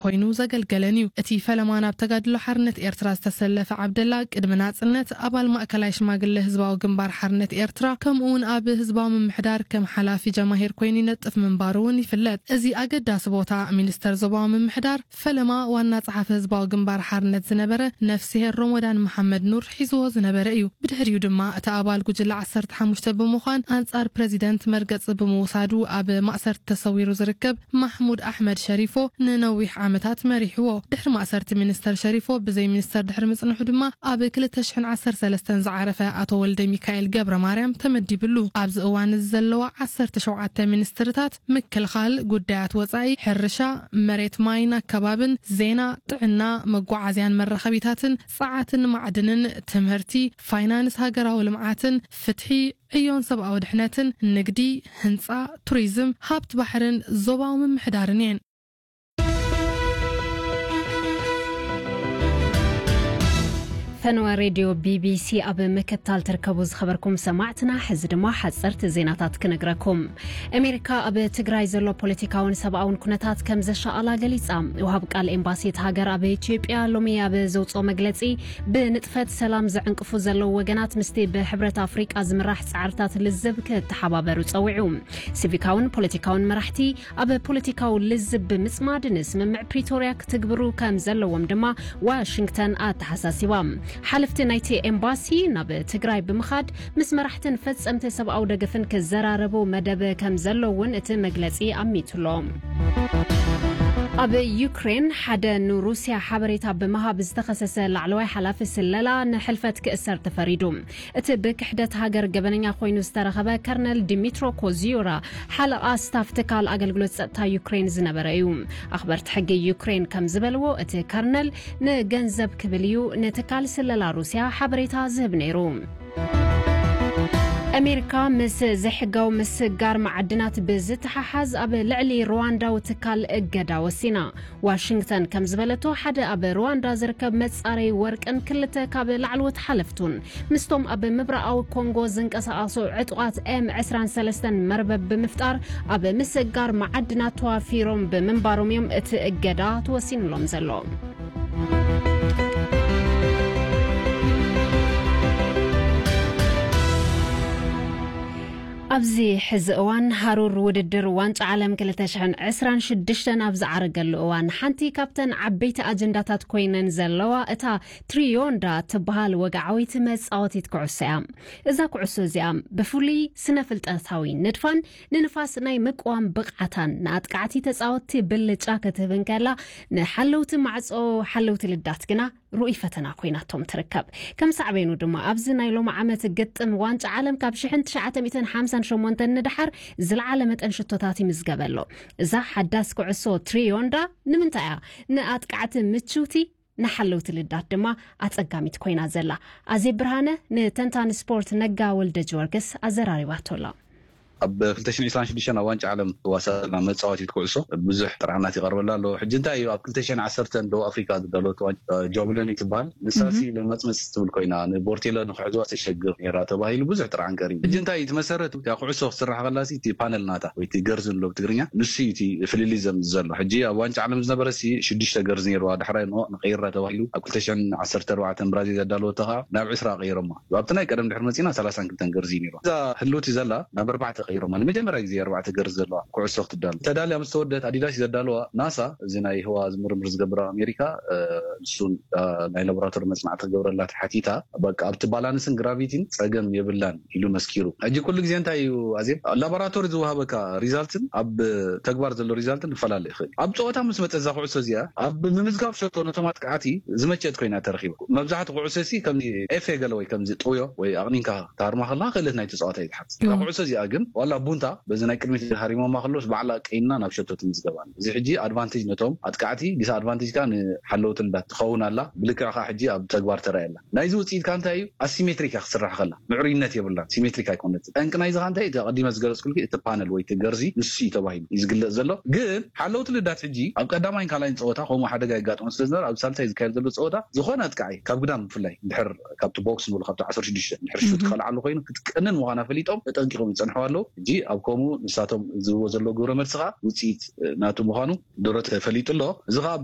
ኮይኑ ዘገልገለን እዩ። እቲ ፈለማ ናብ ተጋድሎ ሓርነት ኤርትራ ዝተሰለፈ ዓብደላ፣ ቅድሚ ናጽነት ኣባል ማእከላይ ሽማግለ ህዝባዊ ግንባር ሓርነት ኤርትራ፣ ከምኡውን ኣብ ህዝባዊ ምምሕዳር ከም ሓላፊ ጀማሂር ኮይኑ ይነጥፍ ምንባሩ እውን ይፍለጥ። እዚ ኣገዳሲ ቦታ ሚኒስተር ዞባዊ ምምሕዳር፣ ፈለማ ዋና ጸሓፊ ህዝባዊ ግንባር ሓርነት ዝነበረ ነፍስሄር ሮሞዳን መሓመድ ኑር ሒዝዎ ዝነበረ እዩ። ብድሕሪኡ ድማ እቲ ኣባል ጉጅለ ዓሰርተ ሓሙሽተ ብምዃን ኣንጻር ፕረዚደንት መርገጺ ብምውሳዱ ኣብ ማእሰርቲ ተሰዊሩ ዝርከብ ማሕሙድ ኣሕመድ ሸሪፎ ንነዊሕ ዓመታት መሪሕዎ። ድሕሪ ማእሰርቲ ሚኒስተር ሸሪፎ ብዘይ ሚኒስተር ድሕሪ ምጽንሑ ድማ ኣብ ክልተ ሽሕን ዓሰርተ ሰለስተን ዝዓረፈ ኣቶ ወልደ ሚካኤል ገብረ ማርያም ተመዲብሉ። ኣብዚ እዋን እዚ ዘለዋ ዓሰርተ ሸውዓተ ሚኒስትርታት ምክልኻል፣ ጉዳያት ወጻኢ፣ ሕርሻ፣ መሬት ማይን ኣከባብን፣ ዜና፣ ጥዕና፣ መጓዓዝያን መራኸቢታትን፣ ጸዓትን ማዕድንን፣ ትምህርቲ፣ ፋይናንስ ሃገራዊ ልምዓትን፣ ፍትሒ፣ ዕዮን ሰብኣዊ ድሕነትን፣ ንግዲ፣ ህንጻ፣ ቱሪዝም፣ ሃብቲ ባሕርን ዞባዊ ምምሕዳርን እየን። ፈነወ ሬድዮ ቢቢሲ ኣብ ምክትታል ትርከቡ ዝኸበርኩም ሰማዕትና፣ ሕዚ ድማ ሓጸርቲ ዜናታት ክነግረኩም። ኣሜሪካ ኣብ ትግራይ ዘሎ ፖለቲካውን ሰብኣውን ኩነታት ከም ዘሻቐላ ገሊጻ። ወሃብ ቃል ኤምባሲ እቲ ሃገር ኣብ ኢትዮጵያ ሎሚ ኣብ ዘውጽኦ መግለጺ፣ ብንጥፈት ሰላም ዘዕንቅፉ ዘለዉ ወገናት ምስቲ ብሕብረት ኣፍሪቃ ዝምራሕ ጻዕርታት ልዝብ ክተሓባበሩ ጸዊዑ። ሲቪካውን ፖለቲካውን መራሕቲ ኣብ ፖለቲካዊ ልዝብ ብምጽማድ ንስምምዕ ፕሪቶርያ ክትግብሩ ከም ዘለዎም ድማ ዋሽንግተን ኣተሓሳሲባ። ሓለፍቲ ናይቲ ኤምባሲ ናብ ትግራይ ብምኻድ ምስ መራሕትን ፈጸምቲ ሰብኣዊ ደገፍን ክዘራረቡ መደብ ከም ዘሎ እውን እቲ መግለጺ ኣሚቱሎ። ኣብ ዩክሬን ሓደ ንሩስያ ሓበሬታ ብምሃብ ዝተኸሰሰ ላዕለዋይ ሓላፊ ስለላ ንሕልፈት ክእሰር ተፈሪዱ። እቲ ብክሕደት ሃገር ገበነኛ ኮይኑ ዝተረኸበ ከርነል ዲሚትሮ ኮዚዮራ ሓለቓ ስታፍ ትካል ኣገልግሎት ጸጥታ ዩክሬን ዝነበረ እዩ። ኣኽበርቲ ሕጊ ዩክሬን ከም ዝበልዎ፣ እቲ ከርነል ንገንዘብ ክብል እዩ ንትካል ስለላ ሩስያ ሓበሬታ ዝህብ ነይሩ። ኣሜሪካ ምስ ዘይሕጋዊ ምስጋር መዓድናት ብዝተሓሓዝ ኣብ ልዕሊ ሩዋንዳዊ ትካል እገዳ ወሲና። ዋሽንግተን ከም ዝበለቶ፣ ሓደ ኣብ ሩዋንዳ ዝርከብ መጻረይ ወርቅን ክልተ ካብ ላዕለዎት ሓለፍቱን ምስቶም ኣብ ምብራቓዊ ኮንጎ ዝንቀሳቐሱ ዕጡቓት ኤም ዕስራን ሰለስተን መርበብ ብምፍጣር ኣብ ምስጋር መዓድናት ተዋፊሮም ብምንባሮም እዮም እቲ እገዳ ተወሲኑሎም ዘሎ። ኣብዚ ሕዚ እዋን ሃሩር ውድድር ዋንጫ ዓለም ክልተ ሽሕን ዕስራን ሽዱሽተን ኣብ ዝዓረገሉ እዋን፣ ሓንቲ ካብተን ዓበይቲ ኣጀንዳታት ኮይነን ዘለዋ እታ ትሪዮንዳ ትበሃል ወግዓዊት መጻወቲት ኩዕሶ እያ። እዛ ኩዕሶ እዚኣ ብፍሉይ ስነ ፍልጠታዊ ንድፋን ንንፋስ ናይ ምቅዋም ብቕዓታን ንኣጥቃዕቲ ተጻወትቲ ብልጫ ክትህብ እንከላ፣ ንሓለውቲ ማዕጾ ሓለውቲ ልዳት ግና ርኡይ ፈተና ኮይናቶም ትርከብ። ከም ሳዕቤኑ ድማ፣ ኣብዚ ናይ ሎሚ ዓመት ግጥም ዋንጫ ዓለም ካብ ሽሕን ትሽዓተ ሚእትን ሓምሳን ሸሞንተን ንደሓር ዝለዓለ መጠን ሽቶታት ይምዝገበ ኣሎ። እዛ ሓዳስ ኩዕሶ ትሪዮንዳ ንምንታይ እያ ንኣጥቃዕቲ ምችውቲ፣ ንሓለውቲ ልዳት ድማ ኣጸጋሚት ኮይና ዘላ? ኣዜብ ብርሃነ ንተንታኒ ስፖርት ነጋ ወልደ ጊዮርጊስ ኣዘራሪባቶ ኣላ። ኣብ ክልተ ሽሕን ዕስራን ሽዱሽተን ኣብ ዋንጫ ዓለም ትዋሳእ ዘላ መጻወቲት ኩዕሶ ብዙሕ ጥርዓናት ይቐርበላ ኣሎ። ሕጂ እንታይ እዩ፣ ኣብ ክልተ ሽሕን ዓሰርተን ደቡብ ኣፍሪካ ዝዳለወት ዋንጫ፣ እ፣ ጆብለኒ ትበሃል። ንሳ ሲ ለመጽመጽ ትብል ኮይና፣ ንቦርቴለ ንክሕዝዋ ተሸግር ነይራ ተባሂሉ ብዙሕ ጥርዓን ቀሪቡ። ሕጂ እንታይ እቲ መሰረት፣ እታ ኩዕሶ ክትስራሕ ከላ ሲ እቲ ፓነል ናታ ወይ እቲ ገርዚ ንብሎ ብትግርኛ፣ ንሱ እዩ እቲ ፍልልይ ዘምጽእ ዘሎ። ሕጂ ኣብ ዋንጫ ዓለም ዝነበረ ሲ ሽዱሽተ ገርዚ ነይርዋ፣ ዳሕራይ ንኦ ንቀይራ ተባሂሉ ኣብ ክልተ ሽሕን ዓሰርተ ኣርባዕተን ብራዚል ዘዳለወቶ ከዓ ናብ ዕስራ ቀይሮማ። ኣብቲ ናይ ቀደም ድሕሪ መጺና ሰላሳን ክልተን ገርዚ ነይርዋ። እዛ ህልውቲ ዘላ ናብ ኣርባዕተ ቀይሮማ። ንመጀመርያ ግዜ ኣርባዕተ ገርዚ ዘለዋ ኩዕሶ ክትዳሎ። ተዳልያ ምስ ተወደት ኣዲዳስ እዩ ዘዳለዋ። ናሳ፣ እዚ ናይ ህዋ ዝምርምር ዝገብር ኣብ ኣሜሪካ፣ እ፣ ንሱን፣ እ፣ ናይ ላቦራቶሪ መጽናዕቲ ክገብረላ ተሓቲታ፣ በቃ ኣብቲ ባላንስን ግራቪቲን ጸገም የብላን ኢሉ መስኪሩ። ሕጂ ኩሉ ግዜ እንታይ እዩ ኣዜብ? ላቦራቶሪ ዝወሃበካ ሪዛልትን ኣብ ተግባር ዘሎ ሪዛልትን ክፈላለ ይኽእል። ኣብ ጸወታ ምስ መጸ እዛ ኩዕሶ እዚኣ ኣብ ምምዝጋብ ሸቶ ነቶም ኣጥቃዕቲ ዝመቸት ኮይና ተረኺባ። መብዛሕትኡ ኩዕሶ ሲ ከም ኤፍ ኤ ገለ ወይ ከምዚ ጥውዮ ወይ ኣቕኒንካ ታርማ ከለኻ ክእለት ናይ ተጻዋታይ እዩ ዝሓትት። እታ እዎ። ኩዕሶ እዚኣ ግን ዋላ ቡንታ በዚ ናይ ቅድሚት ሃሪሞማ ከሎስ ባዕላ ቀይና ናብ ሸቶ ትምዝገባ። እዚ ሕጂ ኣድቫንቴጅ ነቶም ኣጥቃዕቲ፣ ዲስ ኣድቫንቴጅ ከኣ ንሓለውቲ ልዳት ትኸውን ኣላ። ብልክዕ ከኣ ሕጂ ኣብ ተግባር ተራእየላ። ናይዚ ውጽኢት ከኣ እንታይ እዩ? ኣሲሜትሪክ እያ ክትስራሕ ከላ። ምዕሩይነት የብላን። ሲሜትሪክ ኣይኮነትን። ጠንቂ ናይዚ ከኣ እንታይ እዩ? እቲ ኣቐዲመ ዝገለጽኩልኪ እቲ ፓነል ወይ እቲ ገርዚ ንሱ እዩ ተባሂሉ እዩ ዝግለጽ ዘሎ። ግን ሓለውቲ ልዳት ሕጂ ኣብ ቀዳማይን ካልኣይን ጸወታ ከምኡ ሓደጋ የጋጥሞ ስለ ዝነበረ፣ ኣብ ሳልሳይ ዝካየድ ዘሎ ጸወታ ዝኾነ ኣጥቃዒ ካብ ግዳም ብፍላይ እንድሕር ካብቲ ቦክስ ንብሎ ካብቲ ዓሰርተ ሽዱሽተ እንድሕር ሹት እህ። ከልዓሉ ኮይኑ ክትቀንን ምዃና ፈሊጦም ተጠንቂቖም ይጸንሕዋ ኣለዉ። ሕጂ ኣብ ከምኡ ንሳቶም ዝህብዎ ዘለዉ ግብረ መልሲ ከዓ ውፅኢት ናቱ ምዃኑ ድሮ ተፈሊጡ ኣሎ። እዚ ከዓ